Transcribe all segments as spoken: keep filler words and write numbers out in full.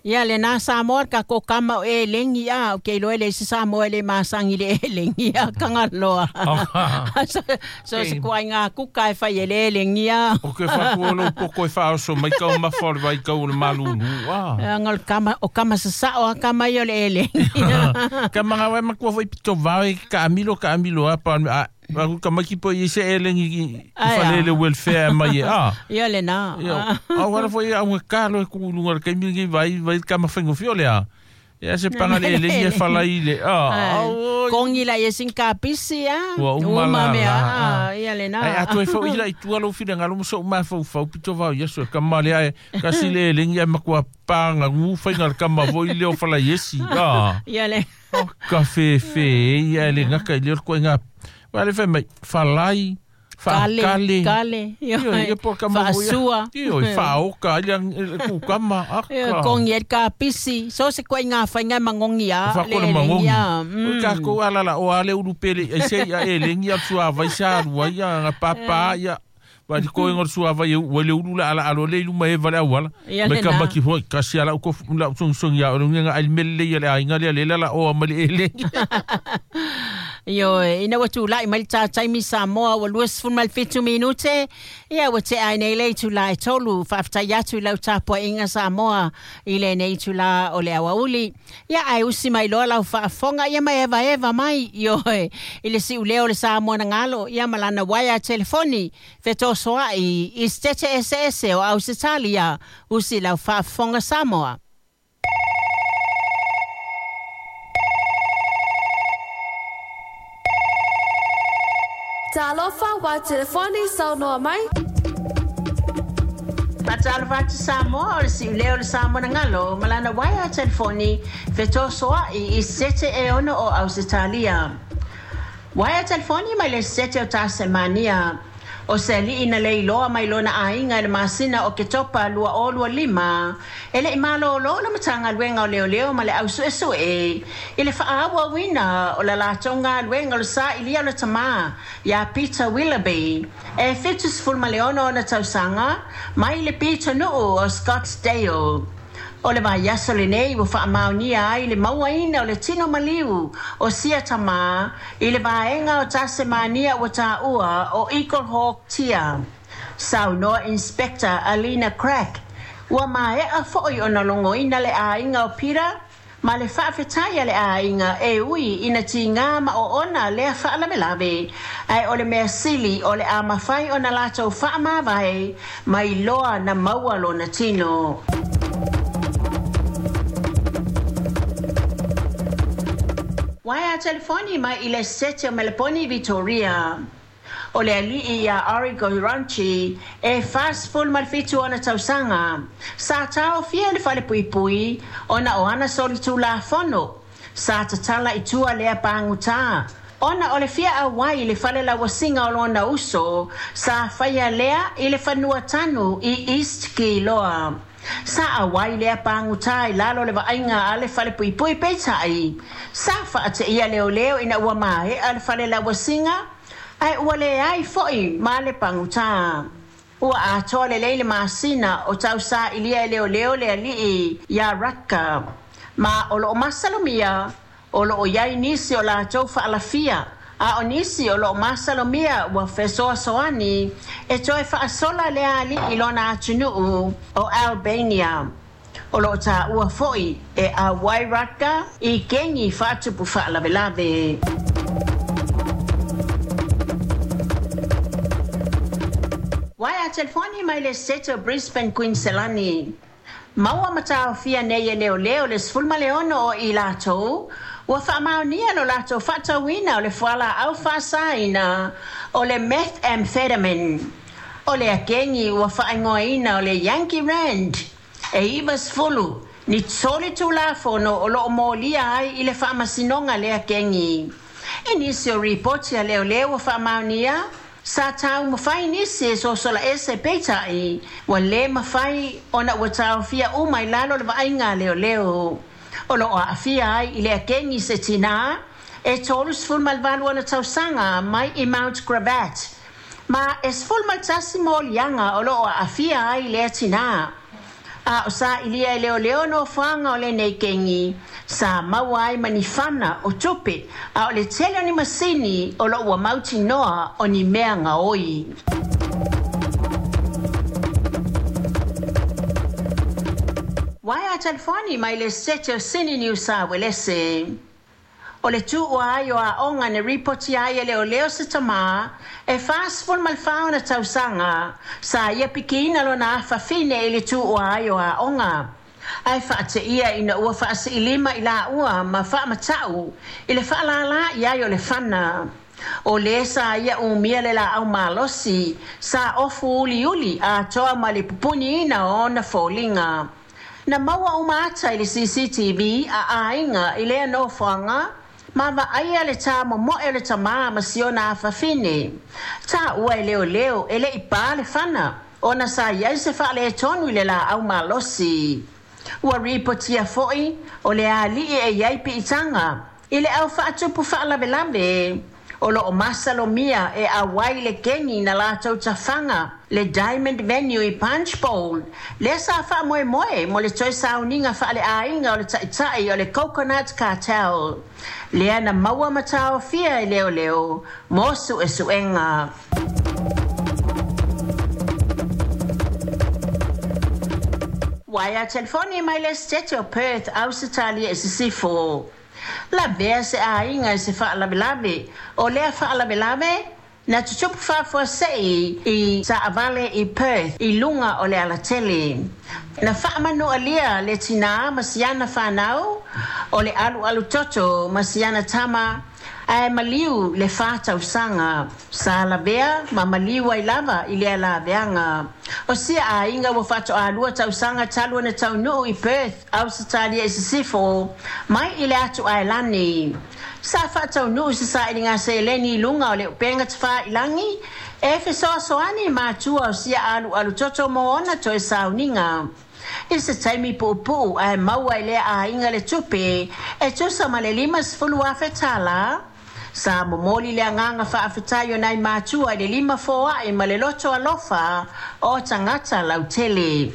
Ia le na Samoa ka ko kama o e lengi a o ke iloa le se Samoa le masangi le e lengi a kangaloa. So, so se kua ngā kuka e whai e le lengi a. O ke whaku o lo poko e whaoso mai kau mawha o le vai kau o le malulu. Ah. Ngol kama, o kama sasao a kama i o le e lengi. Ka mga wai makua fai pito vao e ka amilo ka amilo a pa a Aku ka maki po i se elengi i whalele welfare mai e a. Ia le nā. Ia, au wala fo ia au kalo e kuulunga le kaimi ngi vai vai ka mawhengo fio le a. Ia se panga le elengi e whalai le a. Kongi la ia sin ka pisi a. Ua uma la mea a. Ia le nā. Ai atu e fau ila i tua lo whina ngalo muso uma fau fau pito vau ia so ka male ai kasi le elengi ai makua panga ngu whainga le kama voi leo whalai esi a. Ia le. Ka fe fe ia le ngaka i leo koe ngā. Wale fai mai, whalai, whaakale. Kale, kale. Whaasua. Io, whaoka, ia kukama, aka. Kongi e ka pisi. So se koe ngā whainga mangongi a. Whakore mangongi. O ka kou alala, o ale urupele, e se ia e lengi a tua vai sa arua, ia ngā papa, ia. Wa di koe ngor sua vai wale ulu la ala alo le iluma e vale awala. Me ka maki hoi, kasi ala uko la song song ya, o nga al mele ia le ainga le le la o amali e lengi. Io, ina ua tūlai mai le tātaimi Samoa ua lua sefulu ma le fitu minute. Ia ua tea ai nei le itulā e tolu. Faafetai atu i lau tapuaiga Samoa i lenei itulā o le aoauli. Ia ae usi mai loa lau faafofoga ia ma evaeva mai. Io, i le siuleo o le Samoa na galo. Ia ma lana waea telefoni. Fetosoa'i i se tete eseese o Ausetalia. Usi lau faafofoga Samoa. Talofa wa telefoni saunoa mai. Fatalofa atu Samoa o le siuleo o le Samoa na galo ma lana waea telefoni fetosoa'i i se sete e ono o Ausetalia. Waea telefoni mai le sete o Tasemania. O se ali'i na leiloa mai lona aiga i le masina o Ketopa lua o lua lima. E le'i malōlō le Matagaluega o Leoleo ma le ausuesue i le fa'aauauina o la latou galuega o le sa'ilia o le tamā iā Peter Willoughby e fitu sefulu ma le ono ona tausaga mai le pitonuu o Scottsdale. O le vaiaso lenei ua fa'amaonia ai le mauaina o le tino maliu o sia tamā i le vaega o Tasemania ua tāua o Eagle Hawk Tia. Saunoa Inspector Alina Crack ua mae'a fo'i ona logoina le aiga o Peter ma le fa'afetai a le aiga e ui ina tigā ma oona lea fa'alavelave ae o le mea sili o le a mafai ona latou fa'amavae mai loa na maua lona tino. Waea telefoni mai i le sete o Melbourne, Victoria. O le ali'i ia Origo Ranchi e fasefulu ma le fitu ona tausaga. Sa taofia le falepuipui ona o ana solitulafono. Sa tatala i tua lea pagutā. Ona o le fia auai i le fale lauasiga o lona uso sa faia lea i le fanua tanu i East Kiloa. Sa auai lea pagutā i lalo le vaaiga a le falepuipui peitai. Sa faateia leoleo ina ua mae'a le fale lauasiga ae ua leai fo'i ma le pagutā. Ua atoa lelei le masina o tausa'ilia e leoleo le ali'i iā Ratka. Ma o lo'o masalomia o lo'o iai nisi o latou fa'alafia a o nisi o lo'o masalomia ua fesoasoani e toe fa'asola lea ali'i lona atunuu o Albania. O lo'o tāua fo'i e auai Ratka i kegi fa'atupu fa'alavelave. Waea telefoni mai le sete o Brisbane, Queensland. Maua mataofia nei e leoleo le sefulu ma le ono o i latou ua fa'amaonia lo latou fa'atauina o le fualaau fa'asaina o le methamphetamine. O le akegi ua fa'aigoaina o le Yankee Rand e iva sefulu ni toli tulafono o lo'o molia ai i le fa'amasinoga lea kegi. E nisi o ripoti a leoleo ua fa'amaonia sa taumafai nisi e sosola ese peita'i ua lē mafai ona ua taofia uma i lalo le vaaiga a leoleo. O lo'o a'afia ai i le akegi se tinā e tolu sefulu ma le valu ona tausaga mai i Mount Gravatt. Ma e sefulu ma le tasi moliaga o lo'o a'afia ai lea tinā. A o sa ilia e leo leo no whanga o le nei kengi, sa maua ai manifana o tupe, a o le tele o ni masini o lo ua mauti noa o ni mea ngaoi. Waia telefoni mai le sete o sini ni usa welese. O le tuu ai o a onga ne ripoti ai e leo leo se tamā e whasful malwhaona tausanga sa ia pikina lo na awhawhine i le tuu ai o a onga. Ai whaate ia ina ua whaasi ilima i la ua ma whaamatau i le whaalala i ai o le whana. O le sa ia umia le la au malosi sa ofu uli uli a toa ma le pupuni ina o na fōlinga. Na maua umata i le C C T V a ainga i lea no whanga ma vaaia le tā momoe le tamā ma siona awhawhine. Tā ua e leo leo e le i pā le whana ona sa iai se whaale e tonu i le la au malosi. Ua ripotia foi o le alii e iai piitanga i le au whaatupu whaalawelawe. O lo o masalomia e awai le kengi na lātou tawhanga le Diamond Venue i Punch Bowl. Le sa wha moe moe mo le toi sauninga wha le ainga o le taitai o le Coconut Cartel. Lea na maua matao fia e leo leo mosu e suenga. Waia telefoni mai le sete o Perth, Ausitalia e sisifo. La vea se ainga se whaalawelawe. O lea whaalawelawe, na tutupu whafua sei i saavale i Perth, i lunga o le alatele. Na whaamanu alia le tina masiana whanau, o le alu alu toto masiana tama, ae maliu le whātausanga. Sa lavea ma maliu ai lava i lea laveanga. O sia ainga ua whato alua tausanga talu na taunuu i Perth, Ausitalia i sisifo, mai i le atu aelani. Sa whataunuu se sa i ngā seleni i lunga o le upenga te wha ilangi, e fesoasoani mātua o sia alu alu toto mō ona toe sauninga. I se taimi puupuu ae maua i lea ainga le tupe, e tusa ma le lima sefulu afe tala. Sa momoli le anganga whaafetai o nai mātua i le lima foae ma le loto alofa o tangata lautele.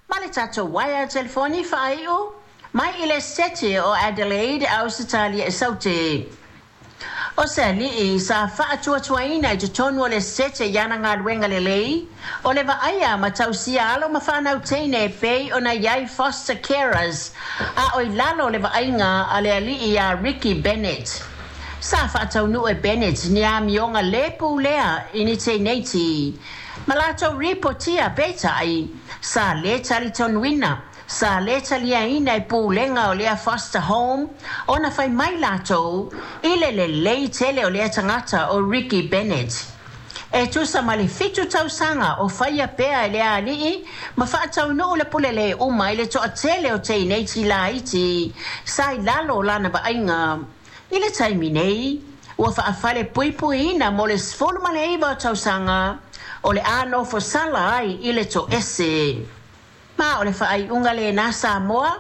Ma le tatou waia telefoni whaaiu, mai i le sete o Adelaide, Ausitalia e saute. O se alii sa whaatuatuaina i te tonu o le sete i ana ngā luenga le lei, o le vaaia ma tausia alo ma whanau teine pei o na iai foster carers, a o i lalo le vaainga a le alii a Ricky Bennett. Sa whaataunu e Bennett ni a mionga lepu lea i ni tēneiti. Ma lātou ripotia pētai, sa le talitonwina, sa le taliaina e pūlenga o lea foster home, o na whai mai lātou, i le le lei tele o lea tangata o Ricky Bennett. E tusa ma le fitu tausanga o whaia pea e lea alii, ma whaataunuu le pule le uma i le toa tele o tēneiti laiti, sa i lalo lana vaaiga. I le taimi nei, ua whaafale puipuina mo le sefulu ma le iva o tausanga, o le anofo sala ai i le to ese. Ma o le whaaiunga le nā Samoa,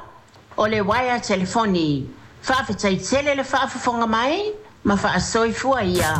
o le waia telefoni. Whaafetai tele le whaafafonga mai, ma whaasoifua ia.